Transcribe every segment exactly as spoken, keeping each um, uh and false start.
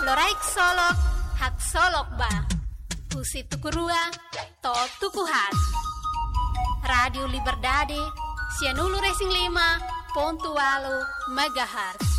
Loraik Solok, haksolok ba. Husi tuku rua to'o tuku haat. Rádiu Liberdade, sianulu-resin-lima pontu ualu megahertz.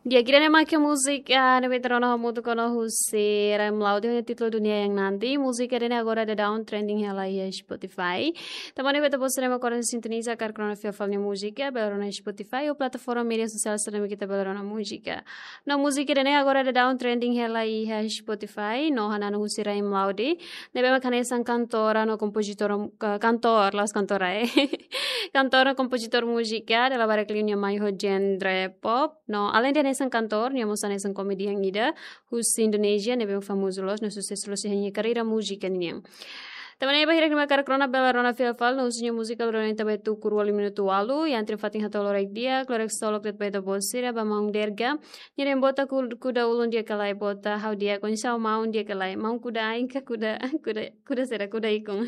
Di'ak, ida-ne'e mak múzika ne'ebé ita rona hamutuk ona husi Raim Laude, ho títulu Dunia Yang Nanti. Múzika ida-ne'e agora daudaun trending hela iha Spotify. Tanba ne'e ba ita-boot sira mak agora sintoniza karik rona fila fali nia múzika, bele rona Spotify ou plataforma média sosiál sira ne'ebé ita bele rona múzika. No múzika ida-ne'e agora daudaun trending hela iha Spotify, no hananu husi Raim Laude, ne'ebé mak hanesan kantora no kompozitór, ka-, kantór, la'ós kantora, eh. Kantór no kompozitór múzika, dala barak liu nia mai ho genre pop, no alende hanesan kantór, nia mós hanesan komedian ida husi Indonézia, ne'ebé mak famozu loos no susesu loos iha nia karreira múzika nian. Tanba ne'e ba hirak ne'ebé mak karik rona bele rona fila fali no husi nia múzika loron ita ba tuku rua liu minutu ualu, iha entre fatin hato'o loraik di'ak, loraik solok de'it ba ita-boot sira, ba maun Derga, nia dehan bota ku-, kuda ulun di'ak ka lae, bota ha'u di'ak, oinsá maun di'ak ka lae, maun kuda ain ka kuda, kuda, kuda saida, kuda ikun.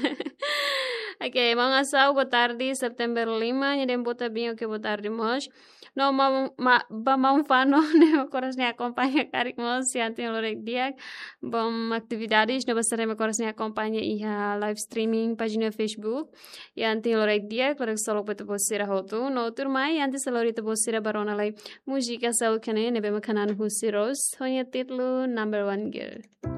Oke, maun Asau, boa tarde, Setembru lima, nia dehan bota bem, oke, boa tarde mós. No maun, ma-, ba maun Fano, ne'ebé mak oras ne'e akompaña karik mós, iha anti loraik di'ak, bom atividades, no ba sira ne'ebé mak oras ne'e akompaña iha live streaming, pájina Facebook, iha anti loraik di'ak, loraik solok ba ita-boot sira hotu, no tuirmai, antes lori ita-boot sira ba rona lai múzika seluk ne'e, ne'ebé mak hananu husi Rose, ho nia títulu Number One Girl.